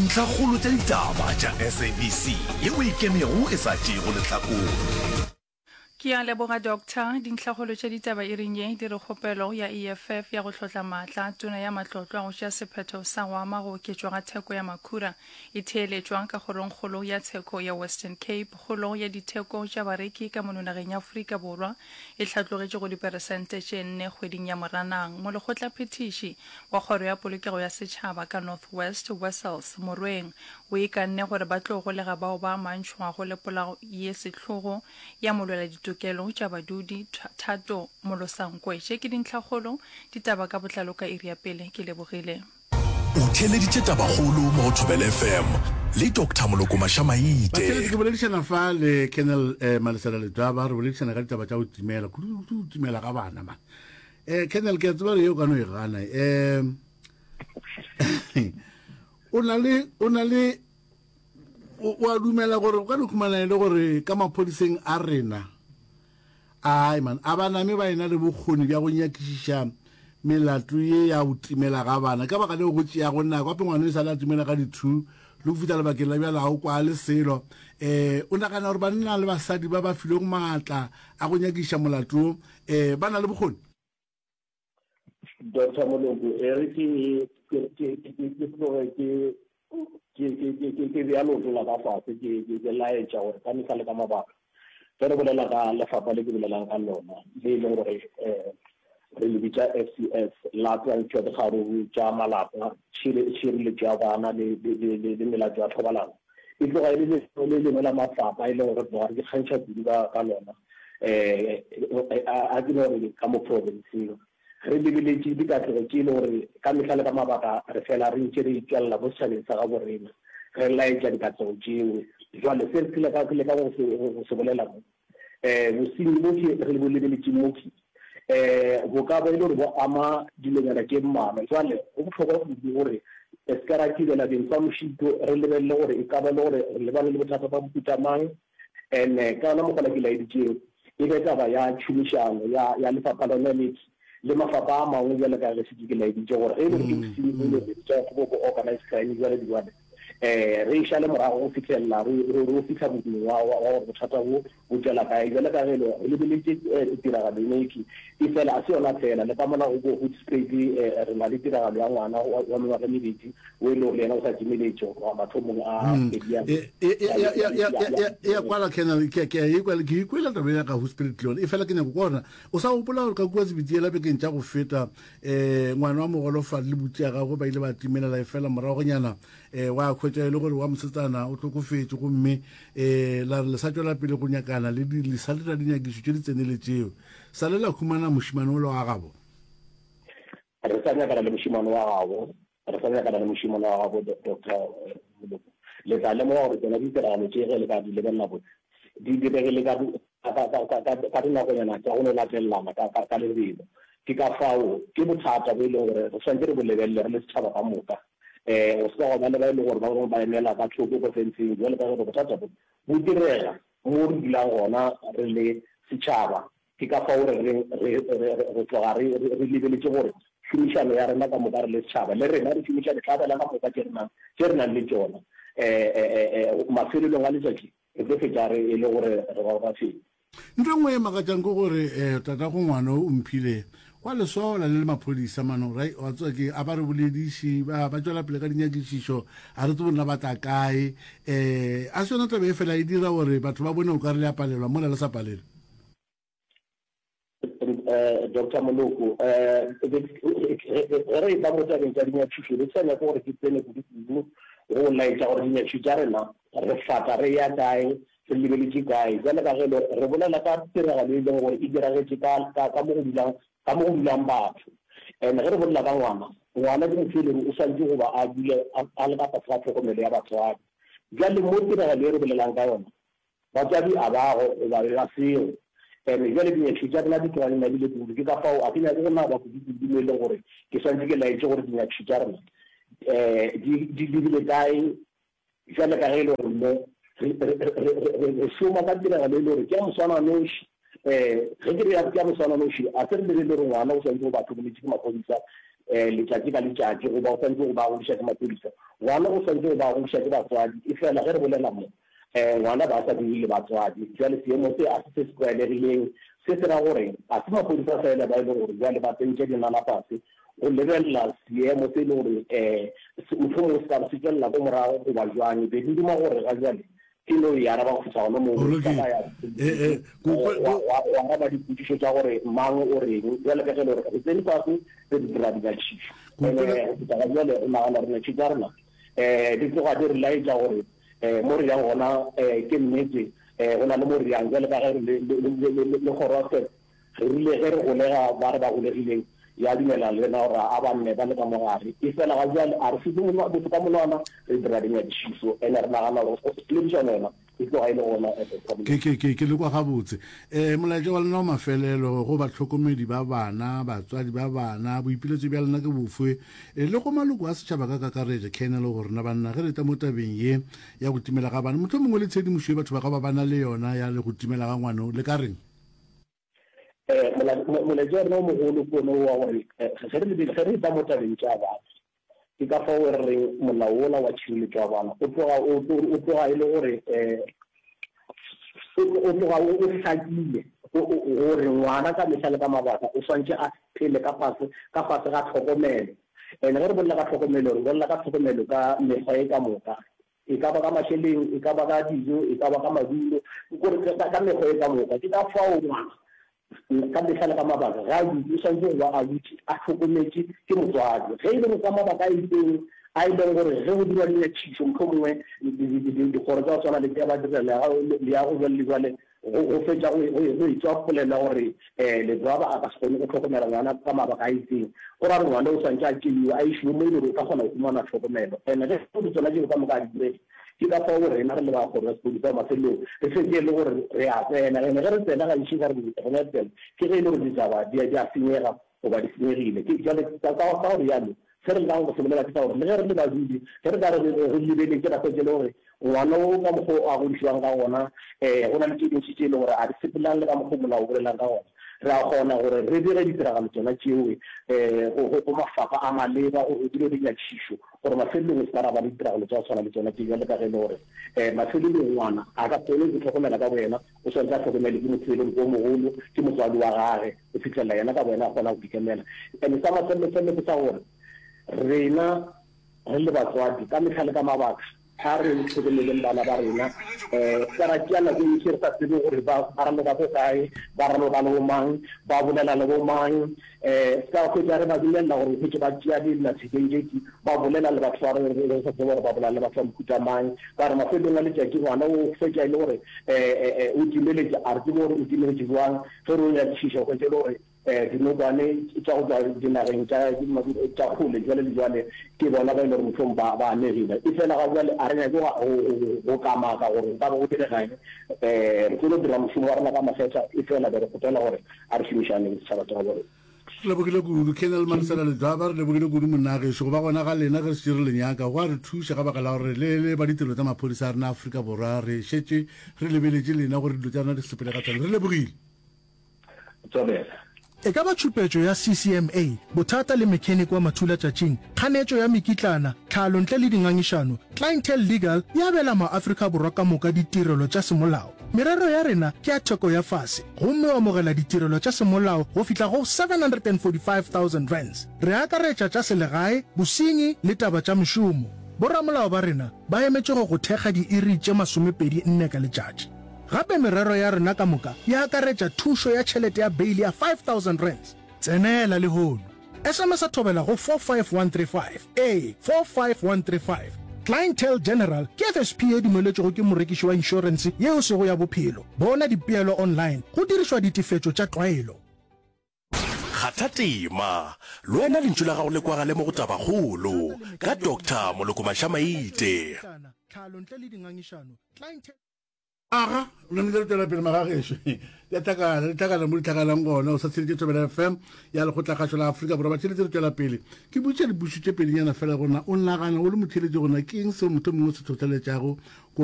Dintlhakgolo tša ditaba tša SABC yeo e ikemego e sa tšeego lehlakore. Ke a leboga Doctor. Dintlhakgolo tša ditaba iring ye di re kgopelo ya EFF ya go hlotla maatla a Tona ya Matlotlo a go tšea sephetho sa go ama go oketšwa ga theko ya makhura e theeletšwa ka Kgorongkgolo ya Tsheko ya Western Cape. Kgolo ya ditheko tša bareki ka mono nageng ya Afrika Borwa e hlatlogetše go diperesente tše nne kgweding ya Moranang. Molekgotlaphethiši wa Kgoro ya Polokego ya Setšhaba ka North West, Wessels Morweng, o ikanne gore ba tlo golega bao ba amantšhwago le polao ye sehlogo ya molweladitokelo tša badudi, Thato Molosankwe. Tše ke dintlhakgolo, ditaba ka botlalo ka iri ya pele. Ke lebogile. O theeleditše Tabakgolo mo go Thobela FM le Doctor Moloko Mashamaite. Batheeletši, ke boledišana fa le Colonel eh, Malesela Ledwaba, re boledišana ka ditaba tša go timela, kudu go timela ga bana man. Eh, Colonel, ke a tseba gore ye o ka no e gana. Eh, o na le, o na le, o a dumela gore o ka no khumana e le gore ka maphodiseng a rena, Ai man, a ba name ba ena le bokgoni bja go nyakišiša melato ye ya go timela ga bana. Ka baka leo go tšeago nako, gape ngwana e sa le a timela ka di-two le go fihla lebakeng la bjale ga o kwale selo. Um o nagana gore banna le basadi ba ba filwego maatla a go nyakišiša molato wo um ba na le bokgoni? Doctor Moloko, e re ke ke ke ke ke tloge ke ke ke ke ke ke bea leoto la ka fase ke ke ke laetša gore ka mehla le ka mabaka ge re bolela ka lefapha le ke bolelang ka lona le e leng gore um re le bitša FCS la twantšho ya dikgaruru tša malapa tšhireletšo ya bana le le le le melato ya thobalano e tloga e le le lengwe la mafapha e leng gore tloga re ikgantšha kudu ka ka lona um a ke no re ka mo provinceng re lebeletše dikatlego tše e le gore ka mehla le ka mabaka re fela re ntše re itšwelela mo setšhabeng sa gabo rena re laetša dikatlego tšeo. Jwale se re leka ke leka go se go se bolela mo um bosenyi bo ke re bo lebeletšeng mo ke um bo ka ba e le gore bo ama dilonyana tše mmalwa. Jwale go bohlokwa kudu gore re se ka ra thibela beng fa mošito re lebelele gore e ka ba e le gore re lebane le bothata ba mohuta mang And-e ka yona mokgwa ke laeditšego, e be taba ya tšhomišano ya, ya lefapha lona le le mafapha a mangwe bjalo ka ge šetše ke laeditše gore ge e le gore ke bosenyi bo le bitša go bo organized crime jwale le jwale, um re e šale morago go fihlelela re, re, re o fihla modung wa, wa, wa gore bothata bo bo tšwela kae. Bjalo ka ge e le re lebeletše eh, tiragalo eno e e fela a se yona fela, le ka mola go bo Hoedspruit eh, re na le tiragalo ya ngwana wa, wa mengwaga e mebedi o e le gore le yena o sa timeletše go tloga mathomong a hmm. kgwedi ya e, e, e, e ya kwala kenal ke ke e kwala ke ikwela taba ya ka ho spirit le yone e fela ke nyako kwa o sa gopola gore ka kua sebitiela bekeng tša go feta um ngwana wa mogolofadi le butsi ya gagwe ba ile ba timelela e fela moragonyana um wa khwetša e le gore wa mosetsana o tlhokofetše gomme um la re le sa tšwela pele go nyakana le le sa dira dinyakišo tše di tseneletšeo sa le la khumana mošimane o le wa gabo Re sa nyakana le mošemane wa gabo, re sa nyakana le mošemane wa gabo, Doctor Moloko. Le tla lemoga gore tšona ditiragalo tše ge le ka di lebelela botse, di diregile ka, ka, ka, ka, ka, ka dinakonyana tša go no latelelana ka, ka, ka lebelo. Ke ka fao, ke bothata bo e leng gore re swanetše re bo lebelele re le setšhaba ka moka. Um go se ka gwa ba le ba e leng gore ba bangwe ba emela ka thoko ko fenceng, bjalo ka gore bothata bo bo direga mo re dulang gona re le setšhaba. Ke ka fao re reng re, re, re, re tloga re, re, re lebeletše gore tšhomišano ya rena ka moka re le setšhaba, le rena re šomiša ditlabela ka moka tše re nang, tše re nang le tšona. E, e, e, e, mafelelong a letšatši re tlo fetša re e le gore re ba bafenyi. Ntho e nngwe e makatšang ke gore um tatago ngwana o Omphile wa lesola le le maphodisa mano right wa tseba ke a ba re bolediše ba ba tšwela pele ka dinyakišišo a re tsebe nna ba tla kae um a se yona taba e fela e dira gore batho ba bone o ka re le a palelwa mola le sa palelwe. Doctor Moloko, ge re etla mo tabeng tša dinyakišišo, be ke sa nyake gore ke tsene kudu-kudu go laetša gore dinyakišišo tša rena re fata re ya kae, re lebeletše kae. Bjale ka ge e le gore re bolela ka tiragalo e leng gore e diragetše ka mo go dulang, ka mo go dulang batho. And ge re bolela ka ngwana, ngwana ke motho e leng gore o swanetše go ba a dule a le ka tlase ga tlhokomelo ya batswadi. Bjale mo tiragalo e re bolelang ka yona, Batswadi a ba go goba be ba sego. And bjale dinyakišišo tša rena di tloga di nabile kudu, ke ka fao a ke nyake go naba kudu-kudu mo e leng gore ke swanetše ke laetše gore dinyakišišo tša rena um di di lebile kae bjale ka ge e le gore mo re re re re re šoma ka tiragalo e le gore ke ya moswananoši. Um ge ke re ya ke ya moswananoši, a se re lebelele gore ngwana o swanetše go ba hlokometše ke maphodisa. um letšatši ka letšatši goba o swanetše go ba a godiša ke maphodisa. Ngwana o swanetše go ba a godiša ke batswadi, efela ge re bolela mo, um ngwana ba sa dule le batswadi. Bjale seemo se a se se se tlwaelegileng. Se se ra gore ga se maphodisa fela ba e lego gore bjale ba tsentše dinala fase go lebelela seemo se e le gore um mohlomongwe se ka be se tšwelela ko morago goba bjang. Be ke duma gore ga bjale ke no e araba go fihla gona moo, Go ka lokile. ba ya Eh, eh, ko kwe- wa ko- wa wa araba dipotšišo tša gore mang o reng. Bjale ka ge e le gore re tsene fase re di dira dinyakišišo. Ko Ene kwele- go fihla ga bjale re nagana gore dinyakišišo tša rena um di tloga di re laetša gore um mo re yang gona um ke nnete um go na le mo re yang. Bjale ka ge re le le le le le kgoro ya Re rile ge re golega ba re ba golegileng, ya dumela le rena gore a ba nne ba le ka mo gare. Efela ga bjale a re šupe motho ka monwana, re dira dinyakišišo ene re nagana gore poledišano yona e tloga e le gona at the problem. Ke, ke, ke, ke le kwa gabotse. Eh, molaetša wa lena wa mafelelo go bahlokomedi ba bana, batswadi ba bana, boipiletšo bja lena ke bofe? Eh, le go maloko a setšhaba ka kakaretšo, Colonel, go rena banna ge re etla mo tabeng ye ya go timela ga bana, mohlomongwe le tshedimošo ye batho ba ka ba ba na le yona ya le go timela ga ngwano, le ka reng? Eh, molaetša wa rena o mogolo ke one wa gore eh, ge re lebele ge re etla mo tabeng tša bana ke ka fao re reng molao wola wa tšhireletšo wa bana o tloga o tloga e le gore um o tloga o hlakile gore ngwana ka mehla le ka mabaka o swantše a phele ka fase ka fase ga tlhokomelo and ge re bolela ka tlhokomelo re bolela ka tlhokomelo ka mekgwa e ka moka E ka ba ka mašeleng, e ka ba ka dijo, e ka ba ka madulo, ke gore ka, ka mekgwa e ka moka. Ke ka fao ngwana, ka mehla le ka mabaka, ge a dutše, o swanetše go ba a dutše a hlokometše ke motswadi. Ge e le gore ka mabaka a itšeng, a e leng gore ge go dirwa dinyakišišo, mohlomongwe dikgoro tša go swana le tša badirela leago bjale le bjale, Go, go fetša go, go, go etšwa polelo ya gore um Ledwaba a ka se kgone go hlokomela ngwana ka mabaka a itseng, go ra gore ngwana o swanetše a tšeiwe a išiwe mo e le gore o tla kgona go humana tlhokomelo. And-e ge go tsona tšeo ka moka a di direge, ke ka fao rena re le ba kgoro ya sepodisa mafelelong re fetše e le gore re a tsena. And-e ge re tsena gantši ka re re a tsena, ke ge e le gore ditaba di a, di a senyega goba di senyegile. Ke bjale ka, ka, ka go realo, se re lekago go se bolela ke sa gore le ge re le badudi, ge re ka re re lebeletše ra hwetša e le gore ngwana wo ka mokgwa o a godišwang ka gona, um go na le tše dintši tše e le gore a di sepelelane le ka mokgwa o molao o bolelang ka gona, re a kgona gore re bege ditiragalo tšona tšeo um go, go, go mafapha a maleba gore go dirwe dinyakišišo gore mafelelong e se ka ra ba le ditiragalo tša go tshwana le tšona tše bjale ka ge e le gore um mafelelong ngwana a ka kgone go itlhokomela ka boyena, o swanetše a hlokomelwe ke motho e leng o mogolo, ke motswadi wa gage. go fihlelela yena ka boyena a kgona go ikemela. And sa mafelelo-felelo ke sa gore rena re le batswadi ka mehla le ka mabaka a re hlokomeleng bana ba rena, um ka ra tšea nako e ntši re sa tsebe gore ba ba raloka ko kae, ba raloka le bomang, ba bolela le bomang, um se ka hwetša re ba dumelela gore hwetše ba tšea dillathekeng tše tši ba bolela le batho ba re re sa tsebe gore ba bolela le batho ba mohuta mang, ka gore mafelelong a letšatši ngwana o fetša e le gore um o timeletše, a re tsebe gore o timeletše bjang. Ge re o nyakišiša, o hwetša e le gore dinokwane tša go tšwa dinageng tša tša kgole bjale le bjale ke bona ba e le gore mohlomong ba ba amegile. Efela ga bjale a re nyake go go kamaka gore go ka ba go direga eng. Re tlo no dira mošomo wa rena ka makgetha, efela be re kgopela gore a re šomišaneng setšhaba sa gabo rena. Re lebogile kudu, Colonel Malesela Ledwaba, re lebogile kudu monna gešo. Go ba gona ga lena ge re šetše re le nyaka go a re thuša ka baka la gore le le ba ditirelo tša maphodisa a rena Afrika Borwa re šetše re lebeletše lena gore dilo tša rena di sepele ka tshwanelo. Re lebogile. Tswabela. E ka ba tšhupetšo ya CCMA, bothata le mechanic wa mathulatšatšing, kganetšo ya mekitlana, tlhalo ntle le dingangišano, Clientele Legal e abela maAfrika Borwa ka moka ditirelo tša semolao. Merero ya rena ke ya theko ya fase gomme o amogela ditirelo tša semolao go fihla go R745,000. Re akaretša tša selegae, bosenyi le taba tša mešomo. Boramolao ba rena ba emetše go go thekga diiri tše 24 ka letšatši. Gape merero ya rena ka moka e akaretša thušo ya tšhelete ya beili ya R5000. Tsenela lehono! SMS-a Thobela go 45135. Ee, 45135. Clientele General ke FSP ye dumeletšwego ke morekiši wa inšorense ye e sego ya bophelo. Bona dipeelo online go dirišwa ditefetšo tša tlwaelo. Kgatha tema, le wena lentšu la gago le kwagale mo go Tabakgolo ka Doctor Moloko Mashamaite. Aga, re namile re tšwela pele magagešo. Di a tlhakana, di tlhakana mo di tlhakanang gona. O sa tsheletše Thobela FM ya Lekgotlakgašo la Afrika Borwa. Batheeletši re tšwela pele. Ke botšiša dipušo tše pedinyana fela gona o nagana o le motheeletši gona ke eng seo motho mongwe se hlohleletšago ko.